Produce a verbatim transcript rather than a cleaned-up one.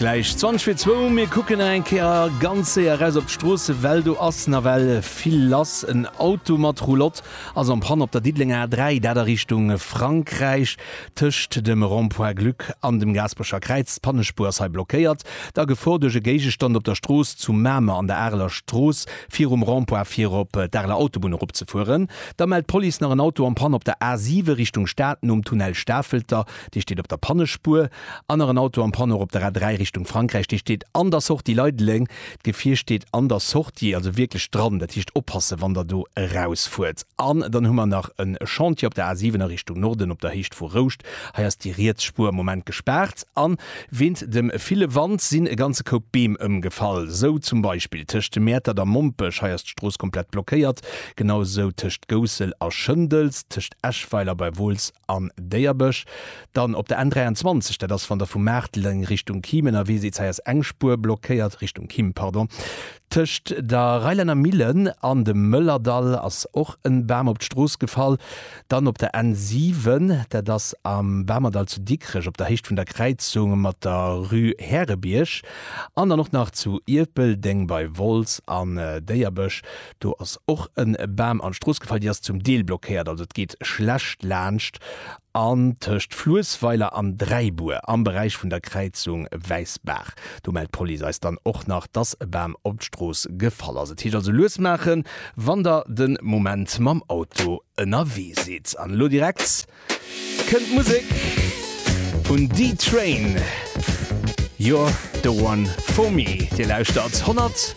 gläich zwanzeg vir zwou. Mir kucken nach eng Kéier ganz séier eraus op d'Stroosse, well do ass nawell vill lass. En Auto mat Roulotte ass en panne op der Diddelenger A dräi, dat a Richtung Frankräich, tëscht dem Rond-point Glück an dem Gaasperecher Kräiz. D'Pannespuer ass hei blockéiert. Da Gefor duerch e Géigestand op der Strooss zu Mamer an der Areler Strooss virum Rond-point fir op d'Areler Autobunn eropzefueren. Da mellt d'Police nach en Auto en panne op der A siwe Richtung Stad nom Tunnel Stafelter, dee steet op der Pannespuer. An nach en Auto en panne och op der A dräi Richtung Frankräich, dee steet an der Sortie Leideleng. D'Gefier steet an der Sortie, also wierklech dran, dat heescht oppassen, wann der do erausfuert. An dann hu mer nach e Chantier op der A siwen a Richtung Norden op der Héicht vu Rouscht. Hei ass déi riets Spuer am Moment gespaart. An wéint dem ville Wand sinn e ganze Koup Beem ëmgefall. Sou zum Beispill tëscht Mäertert a Mompech, hei ass d'Strooss komplett blockéiert. Genau sou tëscht Goussel a Schëndels, tëscht Eschweiler bei Wolz an Déierbech. Dann op der N dräianzwanzeg, dat ass wann der vu Maarteleng Richtung Kim ënnerwee sidd, hei ass eng Spuer blockéiert, Richtung Kim, pardon. Tëscht der Reilänner Millen an dem Mëllerdall ass och en Bam op d'Strooss gefall. Dann op der N siwen, dat ass am Bamerdall zu Dikrech op der Héicht vun der Kräizung mat der Rue Härebierg. An dann och nach zu Ierpeldeng bei Wolz an Déierbech, do ass och en Bam an d'Strooss gefall, déi ass zum Deel blockéiert, also et geet schlecht laanscht. An tëscht Fluessweiler an Dräibuer am Beräich vun der Kräizung Wäissbaach, do mellt d'Police eis dann och nach, dass e Bam op d'Strooss gefall ass. Et heescht also lues maachen, wann der de Moment mam Auto ënnerwee sidd. An elo direkt kënnt d'Musek vun D-Train, You're the one for me. Dir lauschtert honnert.